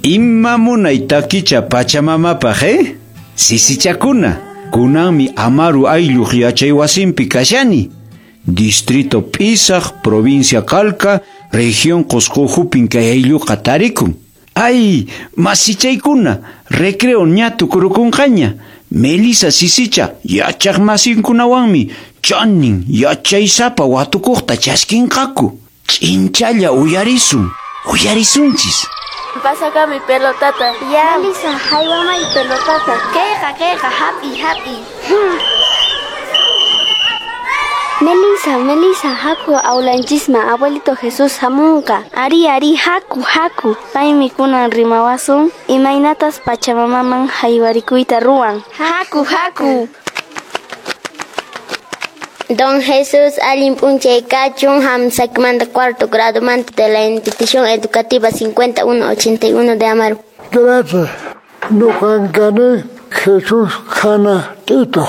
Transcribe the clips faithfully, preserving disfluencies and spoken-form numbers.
Ima munay takicha pachamamapaq, eh? Sisichakuna, kunanmi Amaru aylluq yachay wasinpi kashani. Distrito Pisaq, provincia Calca, región Qosqo hupin kay aylluqa tarikun. Ay, masichaykuna, recreo ña tukurukunqaña. Melisa sisicha, yachaq masinkunawanmi, chanin yachaysapa watukuqta chaskinqaku. Ch'inchalla uyarisun, uyarisunchis. Pasakami pelotata. Ya. Melisa, haywamay pelotata. Kayqa, kayqa, hapi, hapi. Hmm. Melisa, Melisa, haku aulanchisma, abuelito Jesús hamunqa. Ari, ari, haku, haku. Paymi kunan rimawasun, imaynatas pachamamaman haywarikuyta ruwan. Haku, haku. Don Jesús allin p'unchay kachun, hamsakmanta cuarto grado manta de la institución educativa cincuenta y uno ochenta y uno de Amaru. Gracias. Nuqan kani Jesús Jana Tito.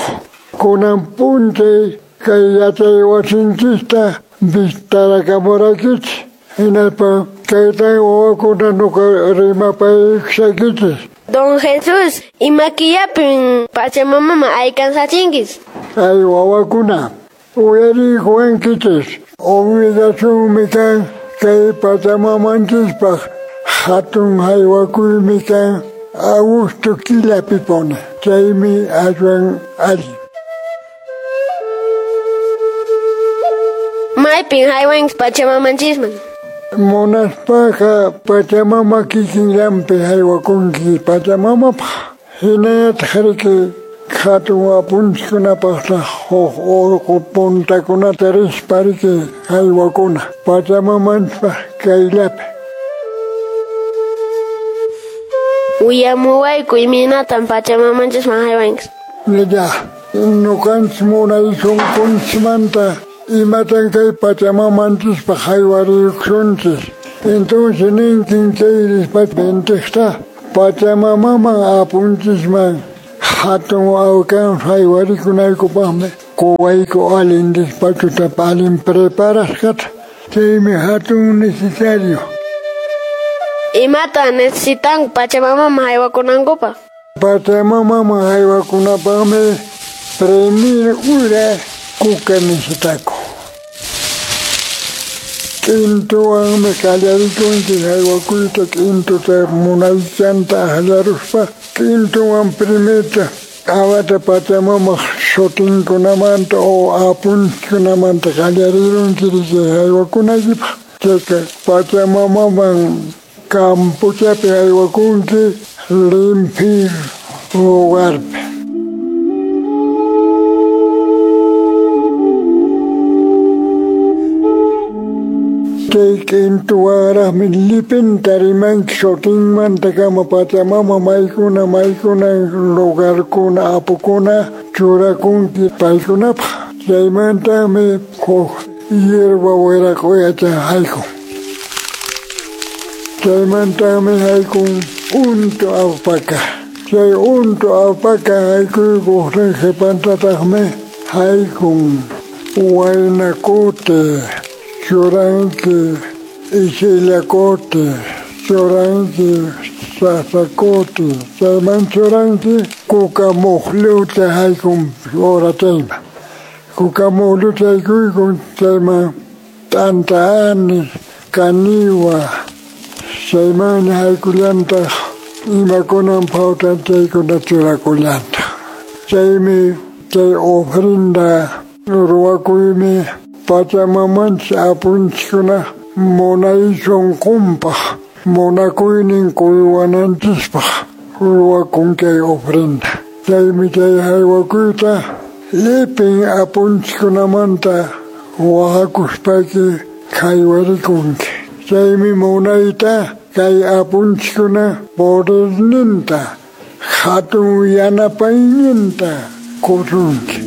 Kunan p'unchay kay yachay wasinchista vistarakamurakich. Hinaspa kaytan wawakuna nuqa rimapaykusaykichis. Don Jesús, imakillapin pachamamama alcanzachinkis. Ay wawakuna, uyariykuwankichis, obligacionmi kan kay pachamamanchispaq hatun haywakuymi kan agosto killapi pone. Chaymi aswan allin. Maypin haywanchis pachamamanchisman? Munaspaqa pachamama kikinllanpi haywakunki pachamamapaq. Hinallataq riki hatun apunchikkunapaqta huk urqu puntakunata rispa riki haywakuna pachamamanchispaq kayllapi. Uyamuwayku imaynatan pachamamanchisman haywanchis. Ya, ñuqanchis munay sunqunchikmanta imatan kay pachamamanchispaq haywariykusunchis. Entonces ninkin chay rispa venteqta pachamamaman apunchisman hatun awkan haywarikunaykupanmi quwayku allin despachuta allin preparasqata. Chaymi hatun necesario. Imatan necesitan pachamamaman haywakunankupaq? Pachamamaman haywakunapaqmi primir ura kuka necesitaku. K'intuwanmi qallarikunchis haywakuyta, k'intuta munaychanta akllaruspa, k'intuwan primerta awata pachamamaq sutinkunamanta o apunchikkunamanta qallarirunchis haywakunaykipaq. Chayqa pachamamaman kampuchapi haywakunki limpio lugarpi. Chay k'intuwanraqmi llipinta rimanki sutinmantakama pachamama maykuna maykuna lugarkuna apukuna churakunki paykunapaq. Chaymantami huk hierba wiraqoyacha haykun. Chaymantami haykun untu alpaca. Chay untu alpaca haykuykuqtin qhipantataqmi haykun waynakuti, churanki isillakuti, churanki sasakuti, chayman churanki kuka muqlluta haykun ora chayman. Kuka muqlluta haykuykun chayman t'anta anis, kaniwa, chayman haykullantaq imakunan phawtan chaykuna churakullantaq. Chaymi chay ofrenda ruwakuymi pachamamanchis apunchikkuna munay sunqunpaq munakuynin quywananchispaq ruwakun kay ofrenda. Chaymi chay haywakuyta llipin apunchikkunamanta wahakuspayki haywarikunki. Chaymi munayta kay apunchikkuna poderninta hatun yanapayninta qusunki.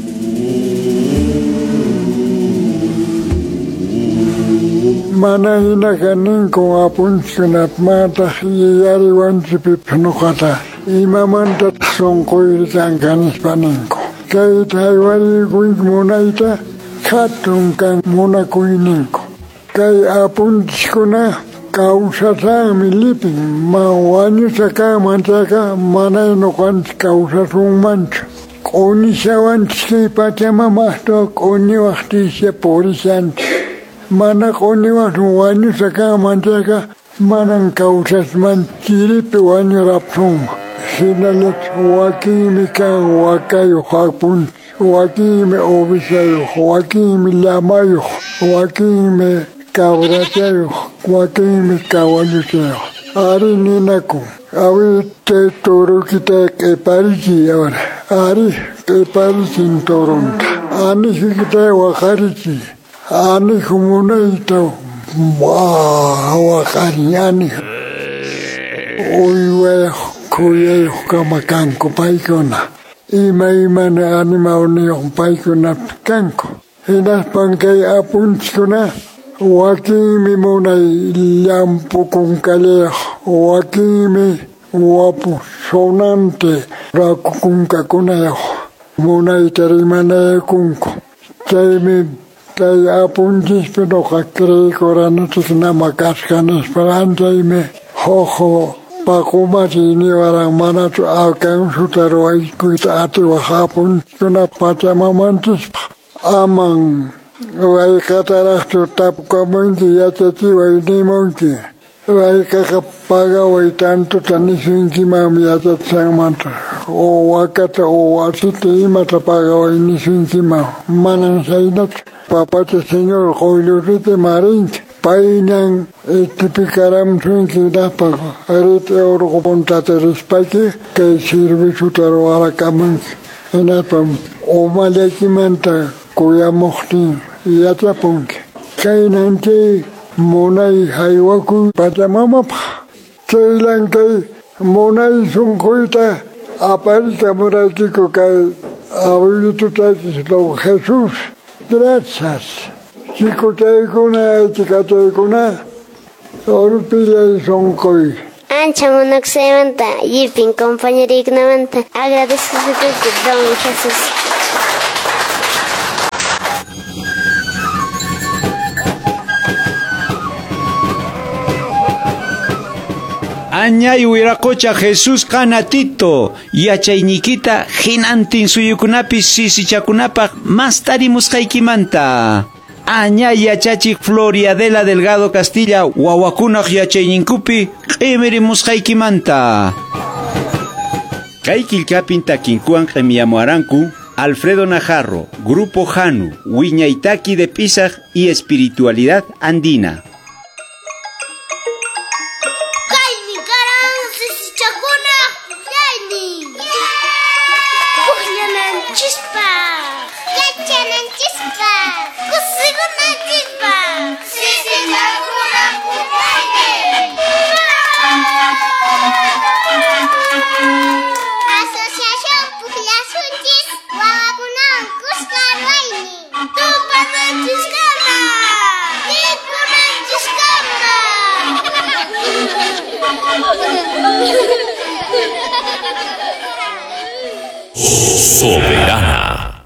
Mana hinaqa ninku apunchikkunapmantaq yuyariwanchikpipas nuqata imamantataq sunquyri kanqa nispa ninku. Kayta haywariykunki munayta hatun kan munakuyninku. Kay apunchikkuna Kawsasanmi lipin, ma wañusqa kanman chayqa mana ñuqanchik kawsasunmanchu. Q'uñishawanchik kay Pachamama astawan q'uñiwaqtinchik purishanchik. Mana q'uñiwasun wañusqa kanman chayqa manan kawsasman chiripi wañurapsunman. Hinallataq wakinmi kan wakayuq apunchik, wakinmi ovejayuq, wakinmi llamayuq, wakinmi cabrachayuq, wakinmi kawalluchayuq. Ari ninakun, awi chay turukita q'iparichiy ahora, ari q'iparichin turunta, anijikita waqarichiy, aniju munayta waqarin aniju. Uywayuq khuyayuq kama kanku paykuna, imaymana animalniyuq paykunapi kanku. Hinaspan kay apunchikkuna wakinmi munay llampu kunkallayuq, wakinmi wapu sonante raku kunkakunayuq, munayta rimanayakunku. Chaymi kay apunchispi nuqa creeykuranichik nama kasqa nispa, chaymi huk paqumasi niwaran manachu alcanzuta ruwaykuyta atiwaq apunchikkuna Pachamamanchispaq. Aman wayqataraqchu tapukamunki yachachiway nimunki. Wayqaqa pagaway tantuta nisunkimanmi yachachisqanmanta, o wakata o wasita imata pagaway nisunkiman. Manan chhaynachu. Papacha Señor quyllurrita marinki. Payñan itipikaramsunki hinaspa rit'i urqu puntata rispayki kay serviciota ruwarakamunki. Hinaspa umallaykimanta kuyamuqtin yachapunki. Kaynan chay munay haywakuy Pachamamapaq. Chaylan kay munay sunquyta aparikamuraykiku kay abuelitutaychis don Jesús. Gracias. Chikuchaykuna, chikachaykuna, urpillay sunquy. Ancha munakusaymanta, llipin compañeriykunamanta agradecesuyki don Jesús. Añay wiraqocha Jesús Qanatito, yachayniykita hinantin suyukunapi sisichakunapaq mastarimusqaykimanta. Añay yachachik Floriadela Delgado Castilla, wawakunaq yachayninkupi q'imirimusqaykimanta. Kay killkapin takinkuwan q'imiyamuaranku Alfredo Najarro, Grupo Janu, Wiñaytaki de Pisaj y Espiritualidad Andina. Soberana.